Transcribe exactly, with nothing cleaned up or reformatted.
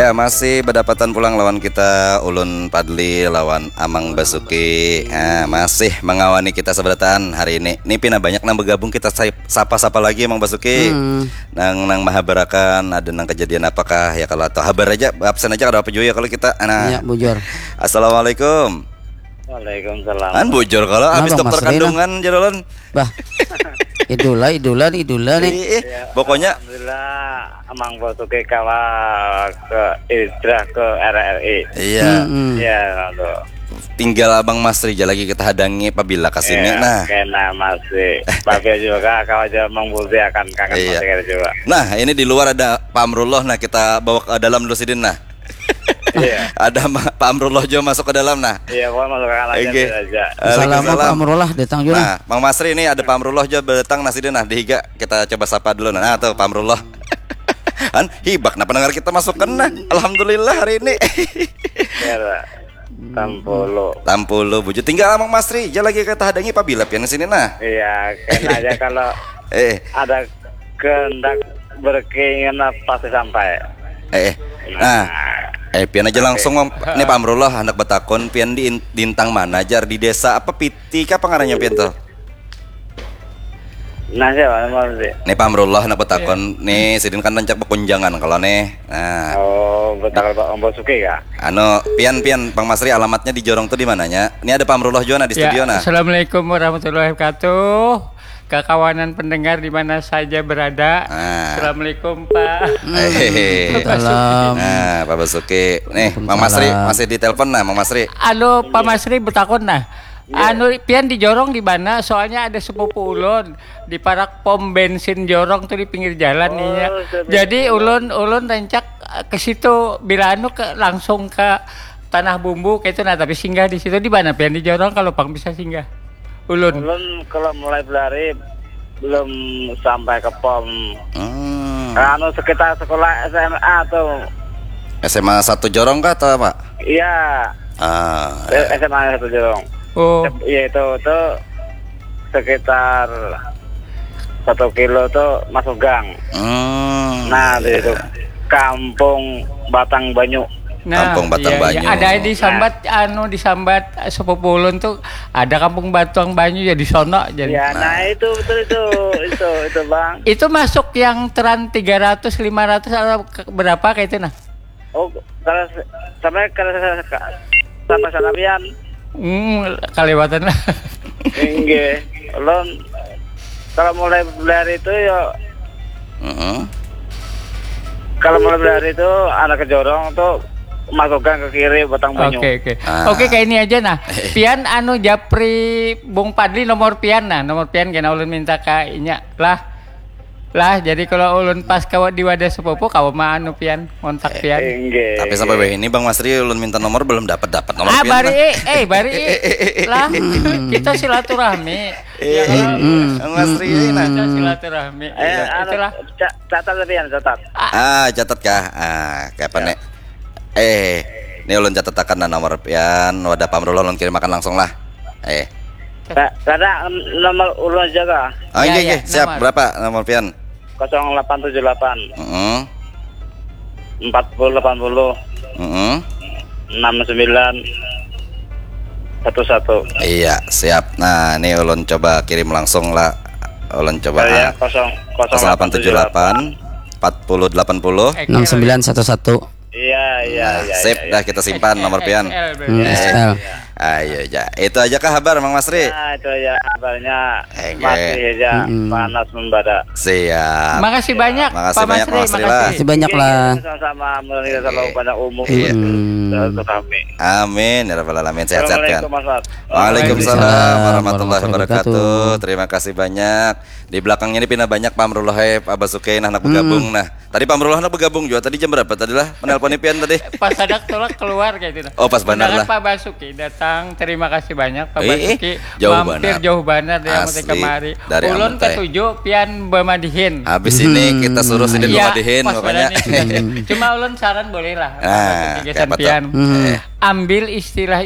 Ya, masih badapatan pulang lawan kita, ulun Padli lawan Amang Basuki. Nah, masih mangawani kita sabarataan hari ini. Ni pina banyak nang bagabung, kita sa-, sapa-sapa lagi, Amang Basuki. Hmm. Nang, nang mahabarakan, ada nang kejadian apakah, ya, kalau atau habar aja, absen aja, kada apa jua, ya, kalau kita. Nah. Ya, bujur. Assalamualaikum. Waalaikumsalam. Kan bujur kalau habis dokter kandungan, jar ulun. Bah. Idola, idola, idola nih. Ih, ih. Ya, pokoknya alhamdulillah, Amang Basuki kawa ke hijrah ke R R I. Iya. Hmm, hmm. Ya, lalu. Tinggal Abang Masri aja lagi kita hadangi pabila ke sini, ya, nah. Kena masih. Tapi juga kawa aja mengbusiakan kangen, iya, masih kena juga. Nah, ini di luar ada Pak Amrullah, nah, kita bawa ke dalam dulu sidin, nah. Iya. Ada Ma-, Pak Amrullah juga masuk ke dalam, nah. Iya, pokoknya masuk ke kanan aja. Oke. Waalaikumsalam. Salam, Pak Amrullah datang juga. Nah, Mang Masri, ini ada Pak Amrullah juga datang, nah, sidin, nah, di higa kita coba sapa dulu, nah. Nah, tuh Pak Amrullah. Kan hibak, nah, pendengar kita masuk ke, nah. Alhamdulillah hari ini. Iya, Pak. Tampulu. Tampulu, bujur. Tinggal Amang Masri aja lagi kita hadangi pabila pian sini, nah. Iya, kena aja kalau eh, ada kehendak berkeinginan pasti sampai. Eh, eh. Nah. Nah. Eh, pian aja langsung, Mam. Oke. Nih, Pak Amrullah, handak batakun, pian di in-, di intang mana, jar? Di desa apa, Piti kah apa ngarannya pian tuh? Nah, siapa, Mam, sih? Nih, Pak Amrullah, handak batakun. Iya. Nih, sidin kan rancak bakunjangan kalau nih. Nah. Oh, betul, Pak Ambo Suki kah? Anu, pian, pian, Bang Masri, alamatnya di Jorong tuh di mananya? Ini ada Pak Amrullah juga, nah, di studio, nah. Ya, assalamualaikum warahmatullahi wabarakatuh. Kakawanan pendengar di mana saja berada. Nah. Assalamualaikum, Pak. Hehehe. Salam. Nah, Pak Basuki. Nih, Mang Masri. Waalaikumsalam. Masih ditelepon, nah, Mang Masri. Alo, Pak Masri, betakun, nah. Iya. Anu, pian di Jorong di mana? Soalnya ada sepupu ulun di parak pom bensin Jorong tuh, di pinggir jalan, oh, inya. Jadi ulun, ulun rancak, eh, ke situ. Bila anu, ke, langsung ke Tanah Bumbu kayak itu, nah, tapi singgah di situ. Di mana pian di Jorong kalau pang bisa singgah? Ulun. Ulun kalau mulai berlari belum sampai ke pom. Hmm. Anu, sekitar sekolah S M A tuh. S M A satu Jorong kah atau apa? Iya. Ah, eh, ya. S M A satu Jorong. Oh. Iya, itu, itu sekitar satu kilo tuh masuk gang. Hmm, nah, iya. Di itu Kampung Batang Banyu. Nah, Kampung Batang, iya, iya. Banyu. Ada disambat, nah, anu, disambat, eh, sepupu ulun tuh, ada Kampung Batang Banyu ya di sono, jadi. Ya, nah, nah, itu betul itu, itu, itu, Bang. Itu masuk yang teran tiga ratus, lima ratus atau ke-, berapa kayak itu, nah? Oh, kalau se-, sampai kalau se-, se-, sampai sana pian. Hmm, kaliwatan lah. Inggih. Ulun kalau mulai berlari itu ya, heeh, kalau mulai berlari itu anak ke Jorong tuh masuk gang ke kiri, Batang Banyu. Oke, oke. Ah. Oke, kayak ini aja, nah. Pian anu japri Bung Padli nomor pian, nah, nomor pian kena ulun minta ka inya lah. Lah, jadi kalau ulun pas kawa di wadah sepupu, kawa ma anu pian, ngontak pian. Eh, inggih. Tapi sampai wahini Bang Masri ulun minta nomor belum dapat-dapat nomor pian, bari, nah. Eh, bari. Lah, kita silaturahmi. Iya, ya, kalau Bang Masri, nah. Kita silaturahmi. Eh, iya, anu, itulah. Ca-, catat tadi, ya, catat. Ah, catat kah? Ah, kayak apa, ya, nih? Eh, ini ulun catatakan, nah, nomor pian, wadah Pak Amrullah ulun kirimakan langsung lah. Eh. Ka-, kada nomor ulun aja kah? Oh, iya, iya, iya, siap. Nomor. Berapa nomor pian? Kosong delapan tujuh delapan. Heeh. Empat puluh delapan puluh. Heeh. Enam sembilan satu satu. Iya, siap. Nah, ini ulun coba kirim langsung lah. Ulun coba, oh, iya, ah, kosong, kosong delapan tujuh delapan, empat puluh delapan puluh. Enam sembilan satu satu. Iya, iya, nah, iya, sip, iya, iya. Dah kita simpan nomor pian. X L berarti. Hmm, eh, X L. Iya. Ayo aja. Itu aja kah habar, Mang Masri? Ya, itu aja habarnya. Enggak. Masih aja, mm-mm, panas membara. Siap. Makasih banyak, Pak Masri, makasih banyak, Pak Masri, makasih. Makasih banyak lah. Iya, iya, sama-sama. Mudah-mudahan kita selalu panjang umur. Iya. Hmm. Silaturahmi. Amin ya rabbal alamin. Sehat-sehat, kan? Assalamualaikum, Mas Mat. Waalaikumsalam warahmatullahi wabarakatuh. Terima kasih banyak. Di belakang ini pina banyak Pak Amrullah, eh, Pak Basuki, nah, anak bergabung, nah. Tadi Pak Amrullah handak bergabung jua. Tadi jam berapa tadi lah menelponi pian tadi? Pas handak tulak keluar kayak itu, nah. Oh, pas banar lah. Mendarat Pak Basuki datang, terima kasih banyak Pak Basuki. Eh, eh, jauh banar. Mampir jauh banar dari Amat kemari. Asli, dari Amat. Ulun katuju pian bamadihin. Habis ini kita suruh sidin bamadihin, pokoknya. Iya, pas banar nih. Cuma ulun saran boleh lah. Nah, Pak Basuki, kayak apa tuh? Pian. Eh. Ambil istilah